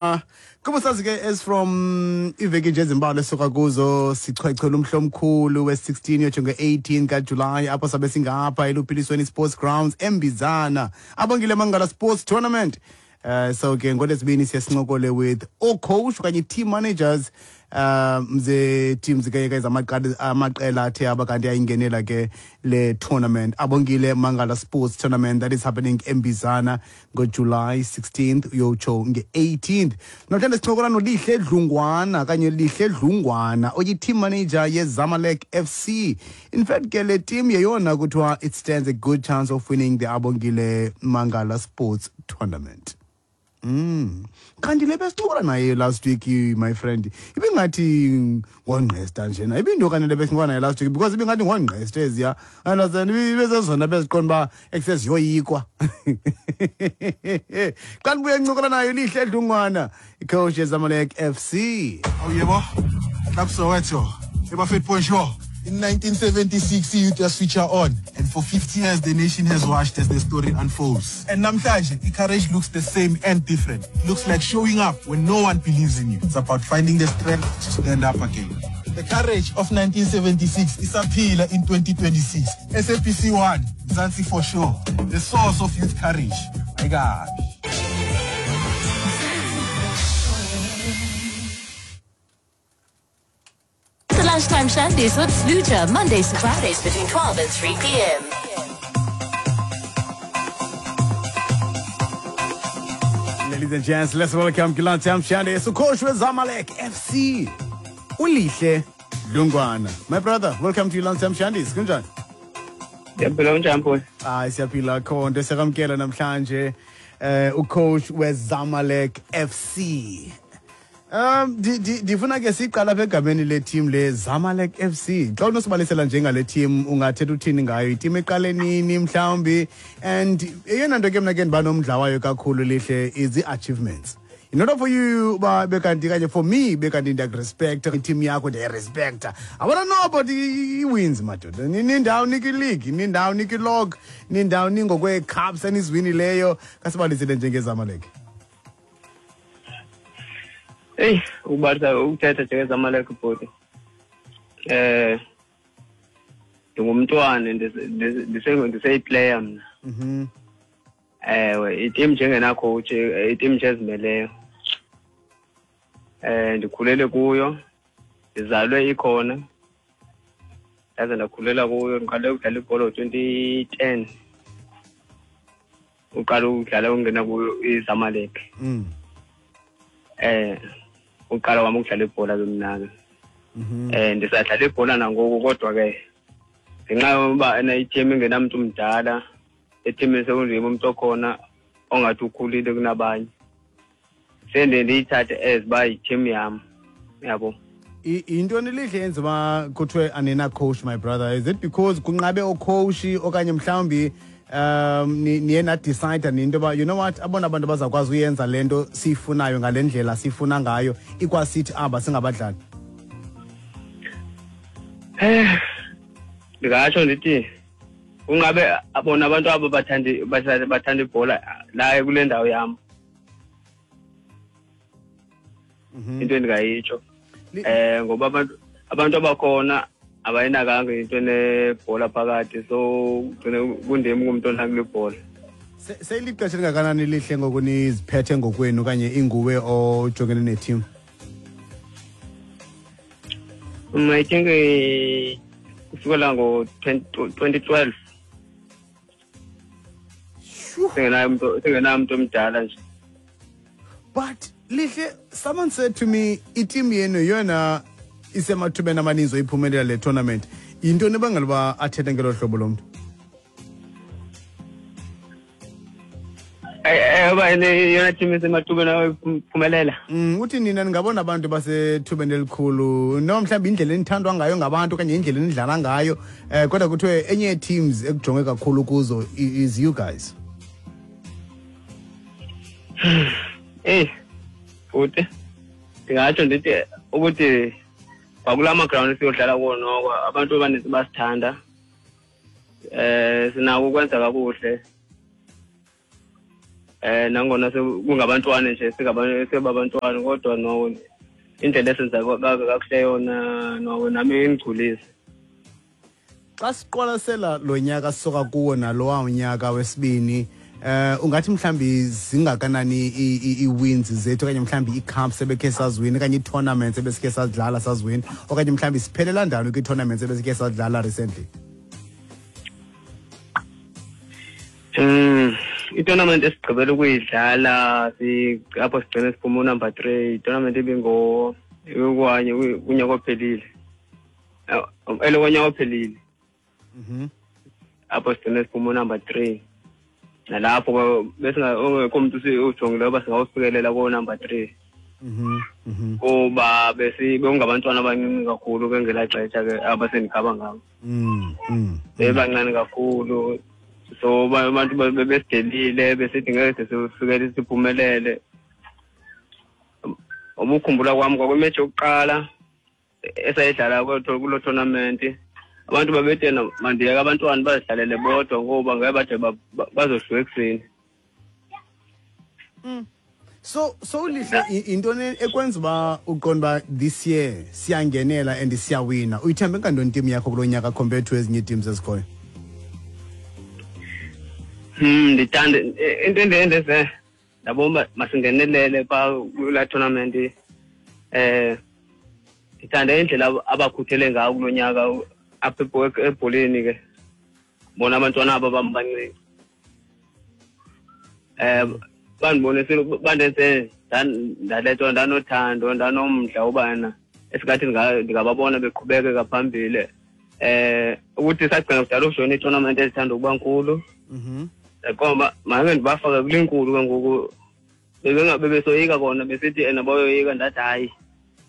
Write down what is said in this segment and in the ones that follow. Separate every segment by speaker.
Speaker 1: Kuba sazi ke as from iveki nje ezimbalwa esuka kuzo sichwechwela umhla omkhulu we-16 yotsho nge-18 kaJulayi apho sabe singapha eLuphilisweni Sports Grounds eMbizana, Abongile Mangala Sports Tournament. So ke ngolwesibini siye sincokole with oo-coach okanye team managers ze-teams ke ke zamaqela athe aba kanti ayingenela ke le tournament, Abongile Mangala Sports Tournament, that is happening eMbizana ngoJuly 16th uyotsho nge-18th. Namhlanje sincokola noLihle Dlungwana kanye Lihle Dlungwana, oyi-team manager yeZamalek FC. In fact ke le team yeyona kuthiwa it stands a good chance of winning the Abongile Mangala Sports Tournament. Kanti le besincokola naye last week, my friend, ibingathi ngongqesta njena ibinto kanye le besincokola naye last week, because ibingathi ngongqesta eziya, understand, ibezezona beziqonda uba ekuseziyoyikwa. Xa ndibuye ncokola nayo Lihle Dlungwana, icoach yeZamalek FC.
Speaker 2: Oh yebo, Club Soweto, Ebafet Bonjour. In 1976, youth was feature on, and for 50 years, the nation has watched as the story unfolds. And namhlanje, courage looks the same and different. It looks like showing up when no one believes in you. It's about finding the strength to stand up again. The courage of 1976 is isaphila in 2026. SABC 1, Mzansi for sure. The source of youth courage. My God.
Speaker 3: The Lunchtime Shandies with Sluja, Mondays to Fridays between 12 and 3 p.m.
Speaker 1: Ladies and gents, let's welcome Lunchtime Shandies, ucoach weZamalek FC, uLihle Dlungwana. My brother, welcome to Lunchtime Shandies. Kunjani?
Speaker 4: Ndiyaphila, unjani mfowethu?
Speaker 1: Hayi, siyaphila khonto. Siyakamkela namhlanje ucoach weZamalek FC. Ndifuna ke siqala apha egameni le team le Zamalek FC. Xa unosibalisela njengale team, ungathetha uthini ngayo? Iteam eqale nini mhlawumbi? And eyona nto ke mna ke ndiba nomdla wayo kakhulu, Lihle, is the achievements. In order for you uba bekanti kanye for me bekanti ndiyakurespecta iteam yakho, ndiyayirespecta, I wanna know about i-wins, madoda. Nindawo nikwi-league, nindawo nikwi-log, nindawo ningokwee-cups eniziwinileyo. Kasibalisele njengeZamalek.
Speaker 4: Eyi, ukubalisa, ukuthetha njengeZamalek, bhuti, ndingumntwana, ndiseyiplayer mna. Ewe, iteam njengenacoach, iteam nje ezimeleyo. Ndikhulele kuyo, ndizalwe ikhona, ndaze ndakhulela kuyo. Ndiqale ukudlala ibhola ngo-2010, uqala ukudlala, ungena kuyo iZamalek. Uqala kwami ukudlala ibhola ke mna ke. Ndisadlala ibhola nangoku, kodwa ke ngenxa yoba ena iteam ingenamntu mdala ethimini, sekundim umntu okhona ongathi ukhulile kunabanye, sendiye ndiyithathe as uba yiteam yam, yabo.
Speaker 1: Yintoni Lihle yenza uba kuthiwe anina coach, my brother? Is it because kunqabe ocoach, okanye mhlawumbi niye nadecide nento yoba, you know what, abona abantu bazawukwazi uyenza le nto siyifunayo ngale ndlela siyifuna ngayo, ikwasithi aba singabadlali?
Speaker 4: Ndingatsho ndithi kungabe bona abantu abo bathanda ibhola la kule ndawo yam. Into endingayitsho, ngoba abantu abakhona abayinakanga into enebhola phakathi, so gcine kundim ngumntu onakule bhola.
Speaker 1: Seyilixesha elingakanani, Lihle, ngoku niziphethe ngokwenu okanye inguwe ojongene neteam?
Speaker 4: I think kusukela ngo-2012 singenayo umuntu omdala nje.
Speaker 1: But Lihle, someone said to me iteam yenu yeyona isemathubeni amaninzi oyiphumelela le tournament. Yintoni ebangela uba athethe ngelo hlobo lo mntu?
Speaker 4: Uba yona team esemathubeni ayiphumelela.
Speaker 1: Uthi nina ningabona abantu basethubeni elikhulu, noma mhlawumbi indlela enithandwa ngayo ngabantu okanye indlela enidlala ngayo, kodwa kuthiwe enye yee-teams ekujongwe kakhulu kuzo is you guys.
Speaker 4: Eyi futhi ndingatsho ndithi ukuthi kwakulaa magrawundi siyodlala kuwo noko abantu abaninzi basithanda, sinako ukwenza kakuhle. Nangona kungabantwana nje singabantwana kodwa no indlela esenza kakuhle yona no nami ingigculise.
Speaker 1: Xa siqwalasela lo nyaka sisuka kuwo nalowa unyaka wesibini, ungathi mhlambi zingakanani ii-wins zethu, okanye mhlambi ii-cups ebekhe saziwina, okanye ii-tournaments ebesikhe sadlala saziwina, okanye mhlambi siphelela ndawoni kwii-tournaments ebesikhe sadlala recently?
Speaker 4: I-tournament esigqibela ukuyidlala apho sigcine siphuma unumber 3, i-tournament ibingo kwanye kunyaka ophelile, elokonyaka ophelile. Apho sigcine siphuma unumber 3, nalapho besingekho mntu ujongileyo uba singawufikelela ko-number 3. Kuba bekungabantwana abancinci kakhulu ke ngelaa xesha ke abasendikhaba ngabo. Bebancane kakhulu, so abantu bebesidelile besithi ngeke sifikele siphumelele. Ubukhumbula kwami kwakwimetshi yokuqala esayidlala kuloo tournament, abantu babethe mandiyeke abantwana bazidlalele bodwa ngoba ngeke bade bazohluka ekuseni.
Speaker 1: So Lihle, intoni ekwenza uba uqonda uba this year siyangenela and siyawina? Uyithembe ngantoni team yakho kulo nyaka compared to ezinye ii-teams ezikhoyo?
Speaker 4: Ndithanda into endenze ndabona uba masingenelele phaa kulaa tournament. Ndithanda indlela abakhuthele ngayo kulo nyaka apha ebholeni ke, bona abantwana aba bam bancinci. Bandibonisile, bandenze ndalethwa ndanothando, ndanomdla ubana esingathi ndingababona beqhubekeka phambili. Ukuthi sagcina kudala ukujoyina ii-tournament ezithanda ukuba nkulu. Ngoba make ndibafake kule nkulu ke ngoku, bebesoyika kona, besithi ena bayoyika. Ndathi hayi,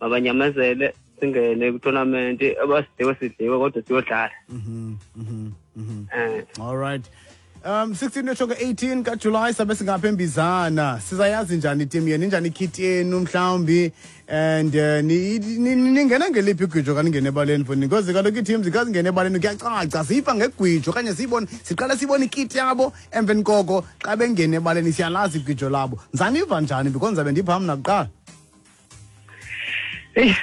Speaker 4: mabanyamezele, singene kwitournament, abasidliwe sidliwe kodwa siyodlala.
Speaker 1: All right. 16 yotsho 18 kaJuly sabe singapha eMbizana. Sizayazi njani team yenu, injani ikit yenu mhlawumbi, and ningena ngeliphi igwijo xa ningena ebaleni mfondini? Because kaloku ii-teams xa zingena ebaleni kuyacaca, siyiva ngegwijo okanye siyibone, siqale siyibone ikit yabo, emveni koko xa bengena ebaleni siyalazi igwijo labo. Nzaniva njani? Because ndizabe ndipha mna kuqala.
Speaker 4: Eyi,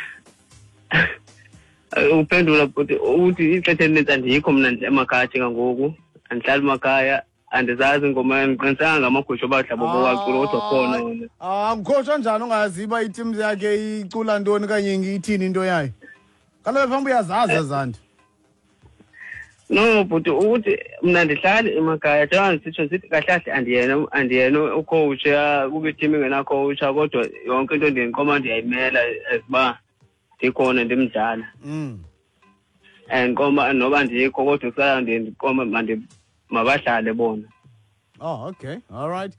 Speaker 4: uphendula bhuti, uthi ixesha elinintsi andikho mna emakhaya njengangoku, andihlali emakhaya, andizazi ingoma, andiqinisekanga ngamagusha obadla bobowacula kodwa khona wona.
Speaker 1: Ah, ngukhotsha njani ungazi uba iteam yakhe icula ntoni okanye ithini into yayo? Kaloku phambi uyazazi ezanto.
Speaker 4: No bhuti, ukuthi mna ndihlali emakhaya, njengoba ndisitsho sithi kahle kahle andiyena ucoach, kube iteam ingenacoach, kodwa yonke into ndiyinqoma ndiyayimela as uba ndikhona ndimdala. And qoma noba ndikho kodwa kusala ndiye ndiqome mabadlale bona.
Speaker 1: Oh, okay. All right.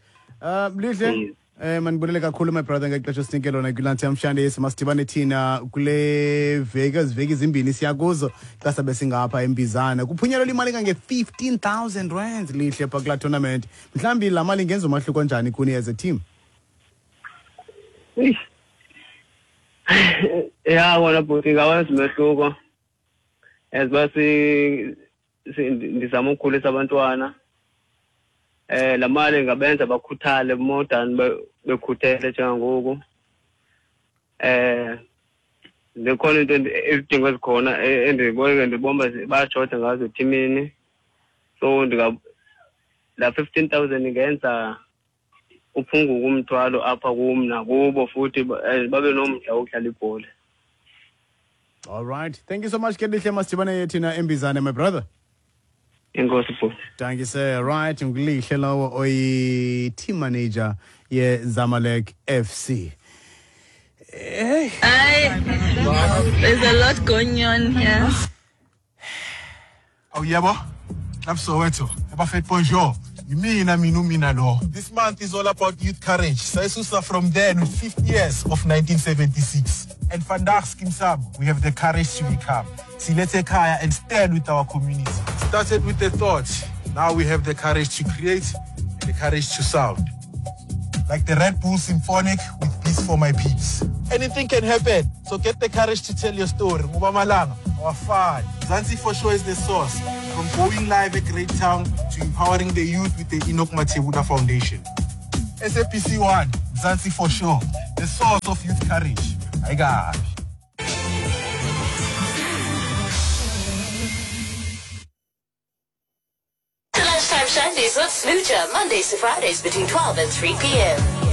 Speaker 1: Lihle, mandibulele kakhulu my brother ngexesha osinike lona kwiLunch Namhlanje. Masidibane thina kule veki, ezi veki zimbini siya kuzo xa sabe singapha eMbizana. Kuphunyelelwa imali kange-15,000 rands Lihle phaa kulaa tournament. Mhlawumbi laa mali ingenza umahluko njani kuni as a team?
Speaker 4: Eish. Ya wona bhuti, ingawenza umehluko as uba ndizama ukukhulisa abantwana. Laa mali ingabenza bakhuthale more than bekhuthele njengangoku. Zikhona into izidingo ezikhona endibona ndibona uba bayashoda ngazo ethimini, so laa 15,000 ingenza uphunguke umthwalo apha kum nakubo, futhi babe nomdla wokudlala ibhola.
Speaker 1: All right, thank you so much ke Lihle, masidibane thina eMbizane my brother.
Speaker 4: Enkosi bhuti.
Speaker 1: Thank you sir. Right, nguLihle lowo oyi-team manager ye-Zamalek FC. Hey.
Speaker 5: Aye, there's a lot going on here.
Speaker 2: Oh yebo, Club Soweto, Ebafet bonjour. Yimina mina umina lo. This month is all about youth courage. Sayisusa from then with 50 years of 1976. And vandaag Skeem Saam, we have the courage to become. Silethe ekhaya and stand with our community. Started with the thought, now we have the courage to create and the courage to sound. Like the Red Bull Symphonic with Peace for My Peeps. Anything can happen, so get the courage to tell your story. Ngoba malanga awafani. Mzansi for sure is the source. From going live at Great Town to empowering the youth with the Enoch Mathebula Foundation. SABC 1, Mzansi for sure. The source of youth courage. Ayikabi.
Speaker 3: The Lunchtime Shandies with Smoocher, Mondays to Fridays between 12 and 3 p.m.